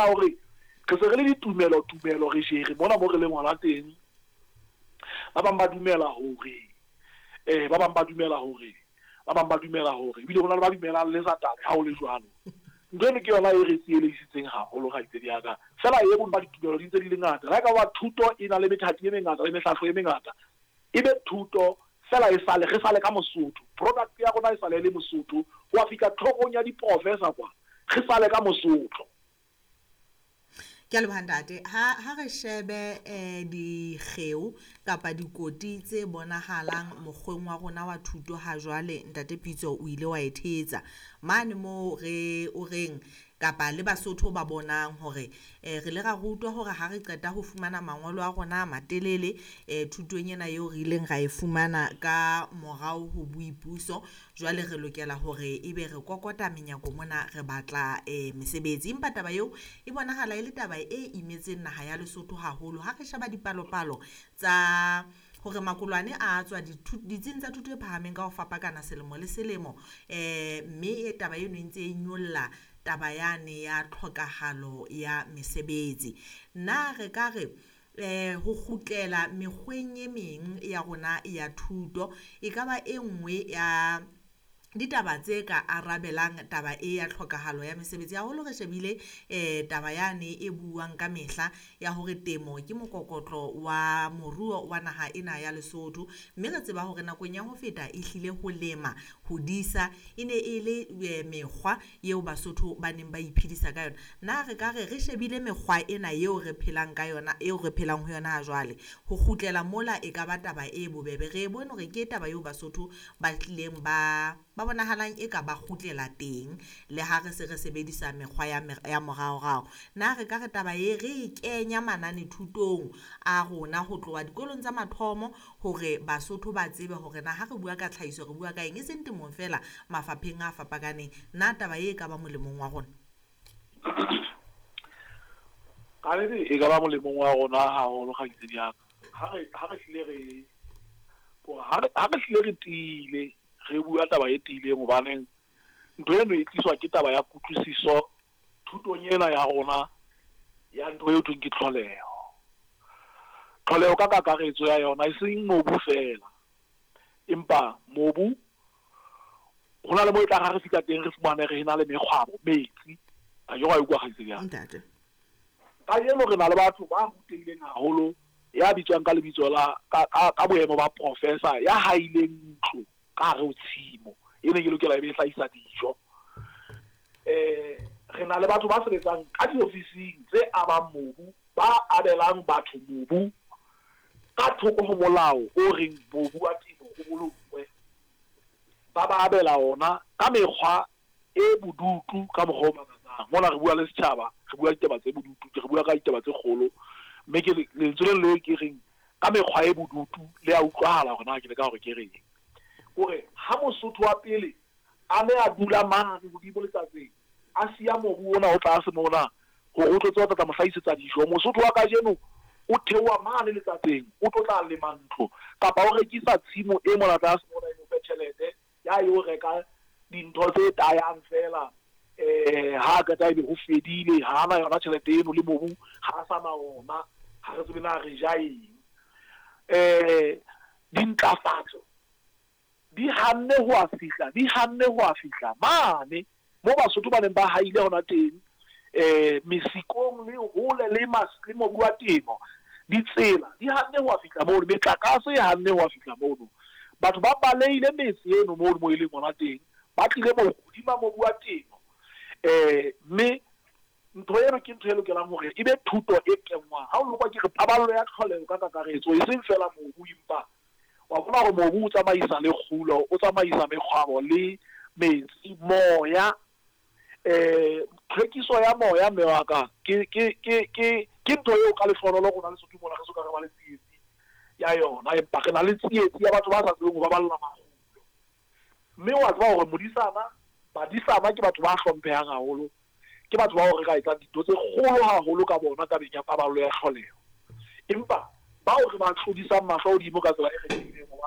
ya hore re se re le ditumelo tumelo re jere mona mo re leng hona teng. Ba bang ba dumela hore ba bang ba dumela hore ba bang ba dumela hore ebile ho na le ba dumelang le Satane ha ho le jwalo. Ntho eno ke yona e re tsielehisitseng haholo kgaitsedi ya ka. Feela e bong ba ditumelo di ntse di le ngata. Le ha e ka ba thuto e na le methati e mengata le mehlahlo e mengata, e be thuto feela e sale re sale ka Mosotho. Product ya rona e sale e le Mosotho ho ya fihla tlhorong ya diprofesa kwa, re sale ka Mosotho. Ke a leboha ntate. Ha ha re shebe dikgeo kapa dikoti tse bonahalang mokgweng wa rona wa thuto ha jwale ntate Pitso o ile wa e thetsa. Mane moo re o reng kapa le Basotho ba bonang hore re ile ra rutwa hore ha re qeta ho fumana mangolo a rona a matelele thutong ena eo re ileng ra e fumana ka morao ho boipuso, jwale re lokela hore ebe re kokota menyako mona re batla mesebetsi. Empa taba eo e bonahala e le taba e imetseng naha ya Lesotho haholo. Ha re sheba dipalopalo tsa hore makolwane a tswa ditsing tsa thuto e phahameng ka ho fapakana selemo le selemo, mme e taba eno e ntse e nyolla taba yane ya tlhokahalo ya mesebetsi. Na re ka re ho kgutlela mekgweng e meng ya rona ya thuto e ka ba e nngwe ya ditaba tse ka arabelang taba e ya tlhokahalo ya mesebetsi, haholo re shebile taba yane e buang ka mehla ya hore temo ke mokokotlo wa moruo wa naha ena ya Lesotho, mme re tseba hore nakong ya ho feta e hlile ho lema, ho disa e ne e le mekgwa eo Basotho ba neng ba iphedisa ka yona. Na re ka re re shebile mekgwa ena eo re phelang ka yona, eo re phelang ho yona ha jwale, ho kgutlela mola e ka ba taba e bobebe. Re e bone hore ke taba eo Basotho ba tlileng ba bonahalang e ka ba kgutlela teng le ha re se re sebedisa mekgwa ya moraorao. Na re ka re taba e re e kenya manane thutong a rona ho tloha dikolong tsa mathomo hore Basotho ba tsebe hore na ha re bua ka tlhahiso re bua ka eng, e seng temong feela, mafapheng a fapakaneng. Na taba e ka ba molemong wa rona? Ka nnete e ka ba molemong wa rona haholo kgaitsedi ya ka. Ha re hlile re ha re hlile re tiile, re bua taba e tiileng, hobaneng ntho eno e tliswa ke taba ya kutlwisiso thutong ena ya rona ya ntho eo thweng ke tlholeho. Tlholeho ka kakaretso ya yona e seng mobu feela, empa mobu ho na le mo e tlang ha re fihla teng re fumane re na le mekgwabo, metsi. A ke wa utlwa kgaitsedi ya ka? Ntate. Kajeno re na le batho ba rutehileng haholo, ya bitswang ka lebitso la ka boemo ba professor, ya haileng ntlo ka hare ho tshimo e neng e lokela e be e hlahisa dijo. Re na le batho ba sebetsang ka diofising tse abang mobu, ba abelang batho mobu ka thoko ho molao o reng mobu wa temo o bolokwe. Ba ba abela ona ka mekgwa e bodutu ka mokgwa o makatsang. Mona re bua le setjhaba, re bua ditaba tse bodutu, re bua ka ditaba tse kgolo, mme ke lentswe le leng ke reng ka mekgwa e bodutu le a utlwahala hore na ke leka hore ke reng. Hore ha Mosotho wa pele a ne a dula mane hodimo letsatsing, a siya mobu ona o tlase mona hore o tlo tseba ho tla mo hlahisetsa dijo, Mosotho wa kajeno o theoha mane letsatsing, o tlo tla lema ntlo kapa o rekisa tshimo e mona tlase mona e mo fe tjhelete ya yo reka dintho tse tayang feela. Ha qeta ebe ho fedile, ha ana yona tjhelete eno le mobu ha sa na ona, ha re tsebe na re ja eng. Dintlafatso di hanne ho a fihla, di hanne ho a fihla mane mo Basotho ba neng ba haile hona teng, mesikong le hole le le mobu wa temo. Ditsela di hanne ho a fihla mono, metlakase e hanne ho a fihla mono. Batho ba balehile metse eno mono mo e leng hona teng, ba tlile mo hodima mobu wa temo. Mme ntho eno ke ntho e lokelang hore e be thuto e kenngwang. Ha o lokwa ke re paballo ya tlholeho ka kakaretso, e seng feela mobu, empa wa bona hore mobu o tsamaisa le kgulo, o tsamaisa mekgwabo le metsi, moya. Tlhwekiso ya moya mme wa ka ke ntho eo ka lehlohonolo rona Lesotho mona re soka re ba le tsietsi ya yona, empa re na le tsietsi ya batho ba sa tsebeng ho baballa makgulo. Mme wa tseba hore modisana, badisana ke batho ba hlomphehang haholo, ke batho bao re ka etsang dintho tse kgolo haholo ka bona tabeng ya paballo ya tlholeho. Empa bao re ba tlodisang mahlo hodimo ka tsela e kgethehileng, hobane